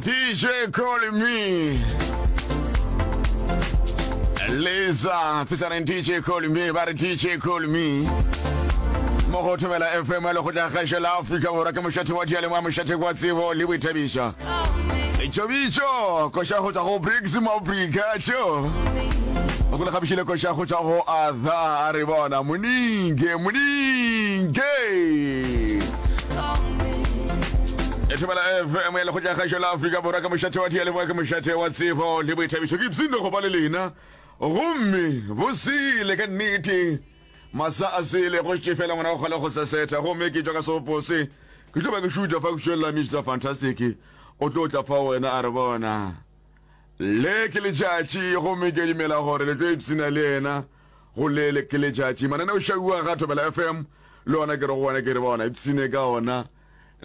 DJ calling me. Lisa, featuring DJ calling me, ba re DJ calling me. Mo go thobela FM le go tla gašo la Afrika Borwa ke mošate wa diyalemoya mošate wa tsebo le boithabišo. Tšobitšo, koša go tšwa go Briggs Mabrika tšo. O go le gabišile koša go tšwa go Arthur a re bona moninge moninge. E thobela FM ya lekgotla kgašo la Afrika Borwa ka mošate wa diyalemoya ke mošate wa tsebo le boithabišo. Ke ipshinne go ba le lena gomme bosele ka nnete. Masa a sele go šetše fela ngwana wa kgale go sesetha gomme ke tšwa ka seopo se. Ke tlo ba ke šutha fa ke šwelela Mister Fantastic o tlo tla fa wena a re bona le ke letšatši gomme ke dumela gore le tlo ipshina le yena go le le ke letšatši. Mananeo šauwa ga Thobela FM le ona ke re go wena ke re bona ipshine ka ona.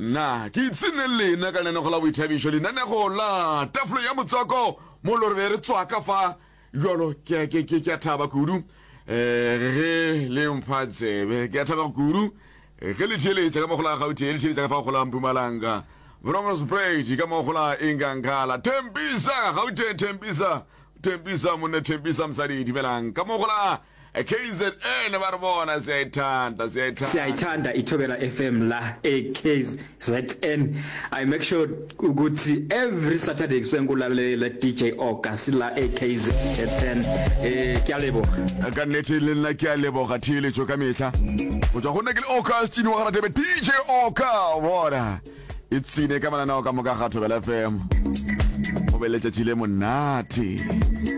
Nna ke ipshine le lena ka lenanego la boithabišo lenanego la Tafolo ya Motswako mo lo re be re tswaka fa Bjalo ke, ke, ke, ke a thaba kudu eh, ge le mpha tsebe. Ke a thaba kudu eh, ge le theeletša ka mo go la Gauteng, le theeletša ka fa go la Mpumalanga, Bronkhorstspruit, ka mo go la Inkankala, Tembisa, Gauteng, Tembisa, Tembisa monna, Tembisa mosadi, dumelang. Ka mo go la KZN ba re bona, siyayithanda, siyayithanda. Siyayithanda iThobela FM la eKZN. I make sure ukuthi every Saturday kusuke ngikulalela DJ Oka sila eKZN. Eh ke a leboga. Ka nnete le nna ke a leboga theeletšo ka mehla go tšwa go nna ke le Augustine wa Garadebe DJ Oka bona ipsine ka mananeo ka moka ga Thobela FM go be letšatši le monate.